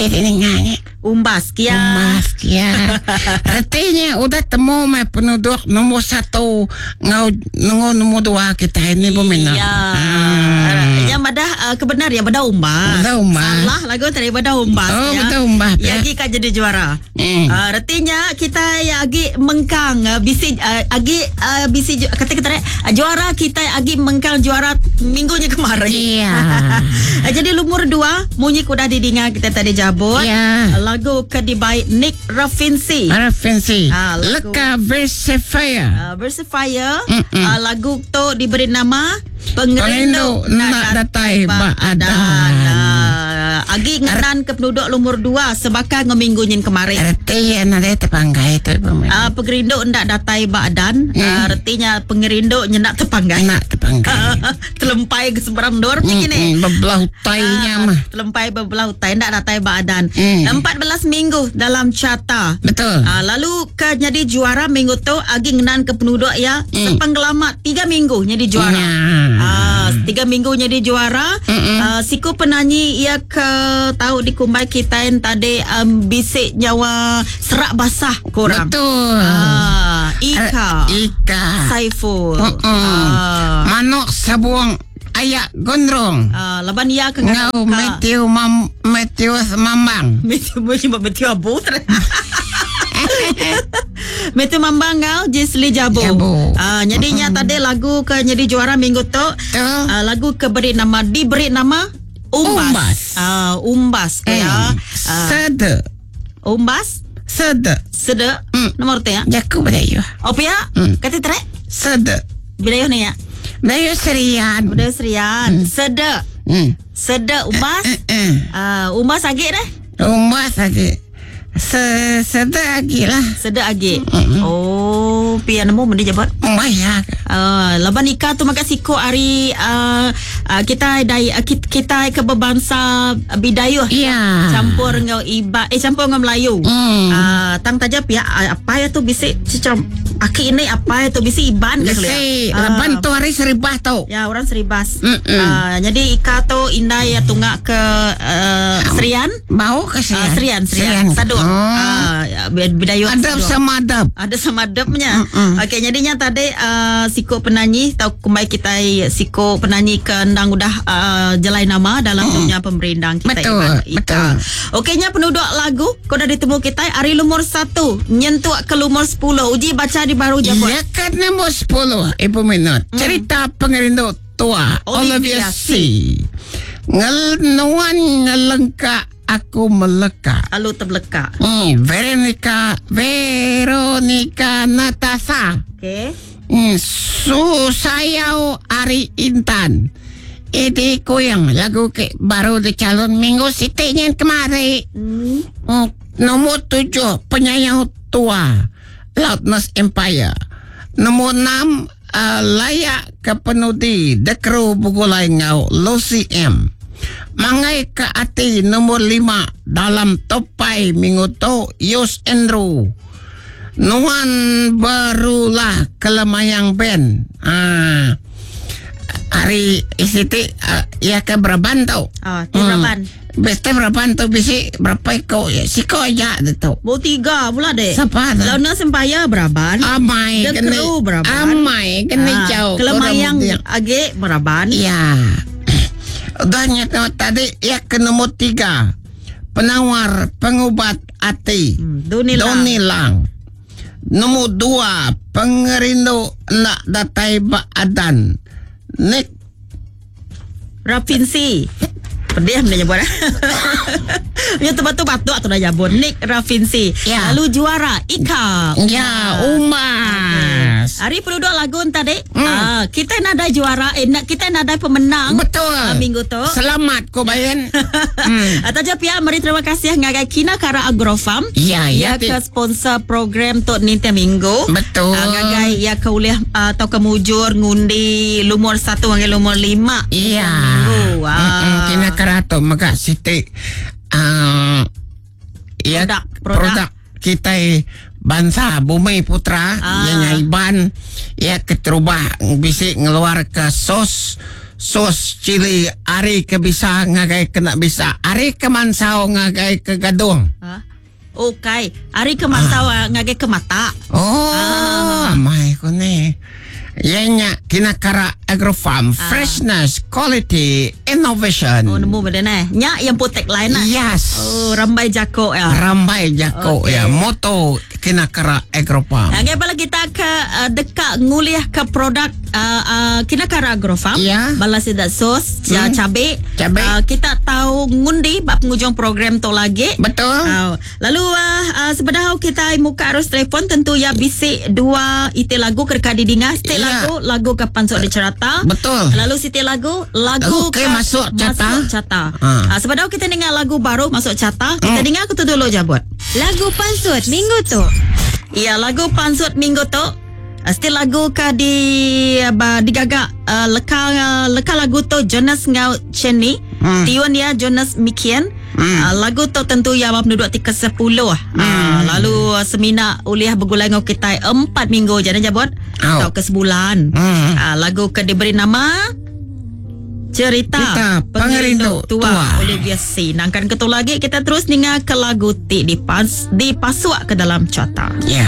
Bisi dininga nya. Umbas kia. Umbas kia. Reti nya udah temu meh penuduk nombor satu enggau nenggu nombor dua kitai ni bemina. Ya. Hmm. Nya madah uh, kebenar ya beda umbas. Beda umbas. Salah lagu tadi beda umbas. Oh, ya. beda umbas. Ya agi ka jadi juara. Hmm. Uh, reti nya kita agi mengkang uh, bisi uh, agi uh, bisi kata kita uh, juara kita agi mengkang juara minggu nya kemarin. Iya. Uh, jadi lumur dua munyi udah didinga kita tadi jabut. Ya. Lagu ke dibai Nick Rafinsi. Rafinsi. Ah, lagu- Leka Versifier. Versifier. Uh, lagu tu diberi nama Pengerindu Pengerindu Nak Datai Ba Adan. Uh, agi ngenan ke penduduk lumur dua sebaka dengan minggu nyin kemarin. Reti ya nadai tepanggai tu ibu Uh, pengerindu ndak datai ba adan. Uh, retinya pengerindu nyendak tepanggai. Nak tepanggai. Telempai ke seberang dor macam ni. Bebelah utainya Ah, mah. Telempai bebelah utai ndak datai ba adan. Hmm. 14 minggu dalam carta. Betul. Ah, lalu ke jadi juara minggu tu agi ngenan ke penduduk ya sepenggelama 3 minggu jadi juara. Ya. Ah, 3 minggu jadi juara. Ah, siku penyanyi ia ke tahu di kumbai kita yang tadi bisik nyawa serak basah korang. Betul. Ah, Ika. Ika. Saiful. Mm-mm. Ah, Manuk sabuang ayak gondrong. ah, laban ia ke Ngau Matthew Mam Matthew Mambang. Matthew Matthew Abu. Matthew Mambang ngau Jesli Jabo. Jabo. Ah, jadinya tadi lagu ke jadi juara minggu tu. Tu. Ah, lagu ke beri nama diberi nama Umbas. Umbas. Ah, Umbas ke ya. Ah, Sede. Umbas Sede. Sede. Mm. Nomor te ya. Jaku Melayu. Oh ya? Mm. Kata tere. Sede. Bila ni ya. Melayu Serian. Udah Serian. Sede. Hmm. Sede Umbas. Eh. Ah, Umbas agik dah. Umbas lagi. Se sede lagi lah. Sede agik. Oh, pia nemu mende jabat. Umbas ya. Laban Ika tu makan siko hari kita dai kita, kita ke berbangsa Bidayuh. Ya. Campur dengan Iba eh campur dengan Melayu. Hmm. Tang taja pihak apa ya tu bisik macam aki ini apa ya tu bisik Iban ke Bisi kelia? Ah, laban tu hari seribah tu. Ya orang Seribas. Mm-mm. Jadi Ika tu indai ya tunggak ke Serian. Bau ke Ah, Serian? Serian, Serian. Saduk. Oh. Ah, Bidayuh. Adab Saduk. sama adab. Ada sama adabnya. Okey, jadinya tadi siko penyanyi tau kumbai kita siko penyanyi ke endang udah jelai nama dalam dunia pemerindang kita. Betul, Iban Ika. betul. Okeynya penduduk lagu kau dah ditemu kita hari lumur 1 nyentuk ke lumur 10. Uji baca di baru je Ya kan nombor 10 Ibu Minot. Cerita pengerindu tua Olivia Olivia C. Ngelnuan ngelengka aku meleka. Alu terbeleka. Veronica Veronica Natasha. Okey. Susayau Ari Intan. Ini kuyang lagu ke baru dicalon minggu sitinya kemari. Nomor 7 penyayang tua Loudness Empire. Nomor 6 layak ke penudi The Crew Bugulai Ngau Lucy M. Mangai ke ati nomor 5 dalam topai minggu tu Yus Andrew. Nuan barulah kelemayang band. Ah. Hari isiti ya ke beraban tau. Ah, ti beraban. Beste beraban tu bisi berapa iko ya siko aja tu. Bau 3 pula dek. Siapa tu? Launa Sempaya beraban. Amai The kena Crew beraban. Amai kena Ah, jauh. Kelemayang Korang agik beraban. Ya. Udah nyata tadi ya ke nomor 3. Penawar pengubat hati. Doni Lang. Doni Lang. Nombor 2 pengerindu nak datai baadan. Nick Rafinsi. Pedih benda nyebut. Ya tu batu-batu atau dah jabun. Nick Rafinsi. Ya. Lalu juara Ika. Ya, Umas. Hari penduduk lagu tadi. Kita nada juara eh nak kita nada pemenang. Betul. Minggu tu. Selamat ko bayan. Atau je pihak meri terima kasih ngagai Kina Kara Agrofarm. Ya, Ya ya. ke sponsor program tu ni tiap minggu. Betul. Ngagai ya ke ulih atau ke mujur ngundi lumur 1 hingga lumur 5. Iya. Minggu. Ah. Kina Kara tu mega siti ya Produk, produk. produk kita bangsa Bumi Putra Ah. yang Iban ya keterubah bisik ngeluar ke sos Sos cili ari ke bisa ngagai kena bisa, ari ke mansau ngagai ke gadung. Ha? Ukai, ari ke mansau ah. ngagai ke mata. Oh, ah. amai ko ni. Iya nya Kinakara Agrofarm, ah. freshness, quality, innovation. Oh, nemu benda ne. Nya yang pun tagline lah. Yes. Oh, rambai jako ya. Rambai jako okay. ya. Moto Kinakara Agrofarm. Ngagai bala kita ke uh, deka ngulih ke produk uh, uh, Kinakara Agrofarm. Ya. Bala sida sos, hmm. cabe. Cabe. Uh, kita tahu ngundi ba penghujung program tu lagi. Betul. Uh, lalu uh, uh, sebedau kita muka arus telefon tentu ya bisi dua iti lagu ke deka didinga. Siti Ya. lagu lagu ke pansut di cerata. Betul. Lalu siti lagu lagu Lagu ke masuk carta. Masuk carta. Ha. Uh, sebedau kita dengar lagu baru masuk carta, kita Hmm. dengar aku tu dulu jabut. Lagu pansut minggu tu. Ya, lagu pansut minggu tu. Uh, still lagu ke di ba, digaga uh, leka uh, leka lagu tu Jonas ngau Chenny. Hmm. Tiun ya Jonas Mikian. Hmm. Uh, lagu tu tentu ya bab penduduk ti ke-10. Hmm. Uh, lalu uh, semina uliah begulai ngau kita 4 minggu je dah jabut. Au. Atau ke sebulan. Hmm. Uh, lagu ke diberi nama Cerita, Cerita Pengerindu Tua, Tua. Olivia C. Nangkan ketu lagi kita terus ninga ke lagu ti dipas, dipasuk ke dalam carta. Ya.